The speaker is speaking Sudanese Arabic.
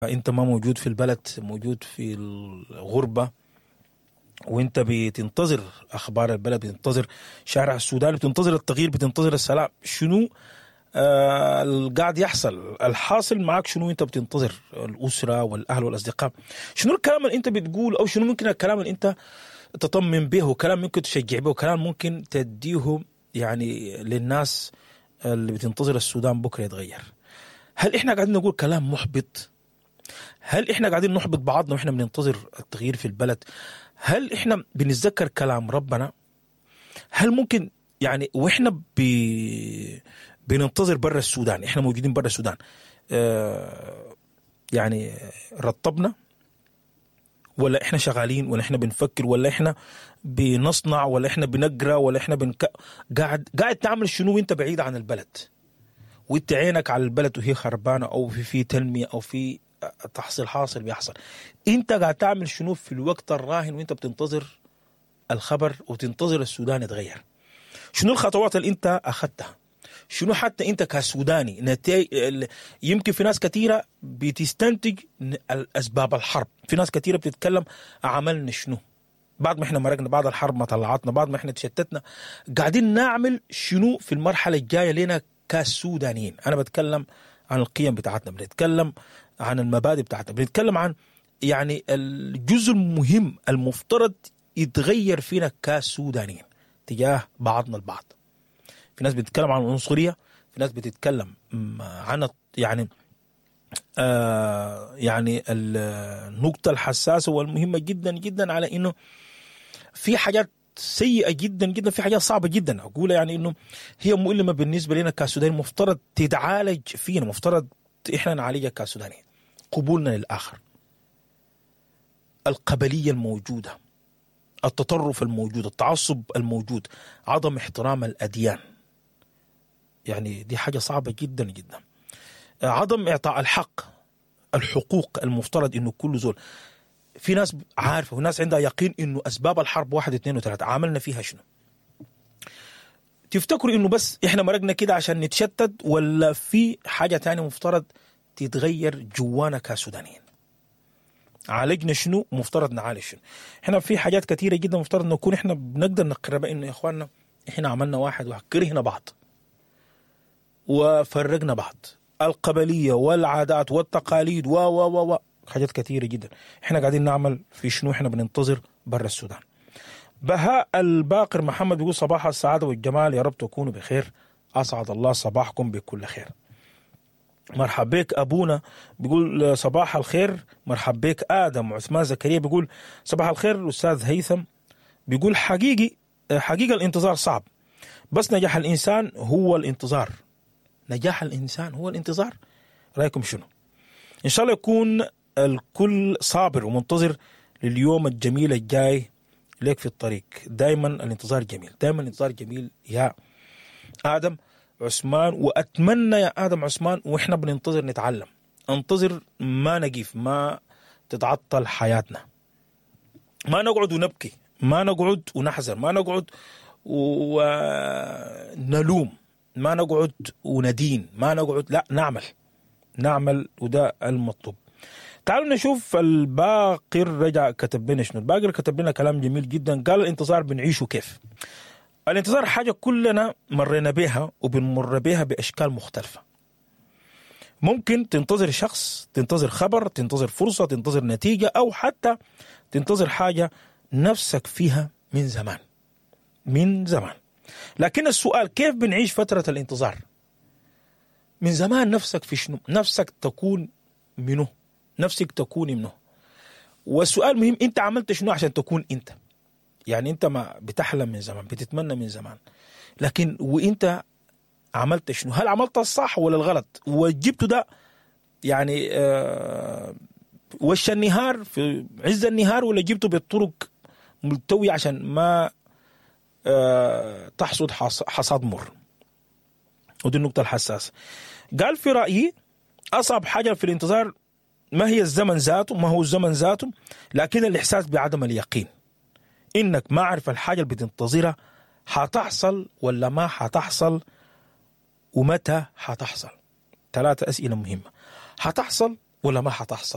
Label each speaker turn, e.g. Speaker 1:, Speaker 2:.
Speaker 1: انت ما موجود في البلد، موجود في الغربة، وانت بتنتظر اخبار البلد، بتنتظر شارع السودان، بتنتظر التغيير، بتنتظر السلام. شنو القاعد يحصل؟ الحاصل معاك شنو؟ انت بتنتظر الاسرة والاهل والاصدقاء. شنو الكلام اللي انت بتقول، او شنو ممكن الكلام اللي انت تطمن به، كلام ممكن تشجع به، كلام ممكن تديه يعني للناس اللي بتنتظر السودان بكره يتغير؟ هل احنا قاعدين نقول كلام محبط؟ هل احنا قاعدين نحبط بعضنا واحنا بننتظر التغيير في البلد؟ هل احنا بنتذكر كلام ربنا؟ هل ممكن يعني واحنا بننتظر برا السودان، احنا موجودين برا السودان، يعني رطبنا، ولا احنا شغالين، ولا احنا بنفكر، ولا احنا بنصنع، ولا احنا بنقرا، ولا احنا قاعد تعمل شنو وانت بعيد عن البلد، وانت عينك على البلد وهي خربانة، او في تنمية، او في تحصيل حاصل بيحصل؟ انت قاعد تعمل شنو في الوقت الراهن وانت بتنتظر الخبر وتنتظر السودان يتغير؟ شنو الخطوات اللي انت اخذتها؟ شنو حتى انت كسوداني يمكن في ناس كثيرة بتستنتج اسباب الحرب، في ناس كثيرة بتتكلم عملنا شنو بعد ما احنا مرقنا، بعد الحرب ما طلعتنا، بعد ما احنا تشتتنا، قاعدين نعمل شنو في المرحلة الجاية لنا كسودانيين؟ انا بتكلم عن القيم بتاعتنا، بنتكلم عن المبادئ بتاعتنا، بنتكلم عن يعني الجزء المهم المفترض يتغير فينا كسودانيين تجاه بعضنا البعض. في ناس بتتكلم عن العنصرية، في ناس بتتكلم عن يعني يعني النقطة الحساسة والمهمة جدا جدا، على انه في حاجات سيئة جدا جدا، في حاجات صعبة جدا اقولها، يعني انه هي مؤلمة بالنسبة لنا كسودانيين، مفترض تتعالج فينا، مفترض احنا نعالجها كسودانيين. قبولنا للآخر، القبلية الموجودة، التطرف الموجود، التعصب الموجود، عدم احترام الأديان، يعني دي حاجة صعبة جدا جدا، عدم إعطاء الحق، الحقوق المفترض إنه كل زول، في ناس عارفة وناس عندها يقين إنه أسباب الحرب 1 2 3، عملنا فيها شنو؟ تفتكروا إنه بس إحنا مرقنا كده عشان نتشتت، ولا في حاجة تانية مفترض تتغير جوانا كسودانيين؟ عالجنا شنو؟ مفترض نعالج شنو؟ احنا في حاجات كثيرة جدا مفترض نكون احنا بنقدر نقربها، انه يا اخواننا احنا عملنا واحد وكرهنا بعض وفرقنا بعض، القبلية والعادات والتقاليد و و و حاجات كثيرة جدا. احنا قاعدين نعمل في شنو؟ احنا بننتظر برا السودان. بهاء الباقر محمد بيقول صباح السعادة والجمال، يا رب تكونوا بخير، اسعد الله صباحكم بكل خير. مرحب بك أبونا بيقول صباح الخير. مرحب بك آدم عثمان زكريا بيقول صباح الخير. أستاذ هيثم بيقول حقيقة الانتظار صعب، بس نجاح الإنسان هو الانتظار. نجاح الإنسان هو الانتظار. رأيكم شنو؟ إن شاء الله يكون الكل صابر ومنتظر لليوم الجميل الجاي لك في الطريق. دايما الانتظار جميل، دايما الانتظار جميل يا آدم عثمان. وأتمنى يا آدم عثمان وإحنا بننتظر نتعلم، انتظر ما نقف، ما تتعطل حياتنا، ما نقعد ونبكي، ما نقعد ونحزن، ما نقعد ونلوم، ما نقعد وندين، ما نقعد، لا، نعمل، وده المطلوب. تعالوا نشوف الباقر رجع كتب لنا شنو. الباقر كتب لنا كلام جميل جدا، قال الانتظار بنعيشه كيف. الانتظار حاجة كلنا مرينا بها وبنمر بها بأشكال مختلفة. ممكن تنتظر شخص، تنتظر خبر، تنتظر فرصة، تنتظر نتيجة، أو حتى تنتظر حاجة نفسك فيها من زمان، من زمان. لكن السؤال كيف بنعيش فترة الانتظار؟ من زمان نفسك في شنو؟ نفسك تكون منه، نفسك تكون منه. والسؤال مهم، انت عملت شنو عشان تكون انت؟ يعني انت ما بتحلم من زمان، بتتمنى من زمان، لكن وانت عملت شنو؟ هل عملت الصح ولا الغلط؟ وجبته ده يعني وش النهار في عز النهار، ولا جبته بالطرق ملتوية عشان ما تحصد حصاد مر؟ ودي النقطة الحساسة. قال في رأيي أصعب حاجة في الانتظار ما هي الزمن ذاته، ما هو الزمن ذاته، لكن الإحساس بعدم اليقين، إنك ما عارف الحاجة اللي بتنتظرها حتحصل ولا ما حتحصل، ومتى حتحصل. 3 أسئلة مهمة: حتحصل ولا ما حتحصل؟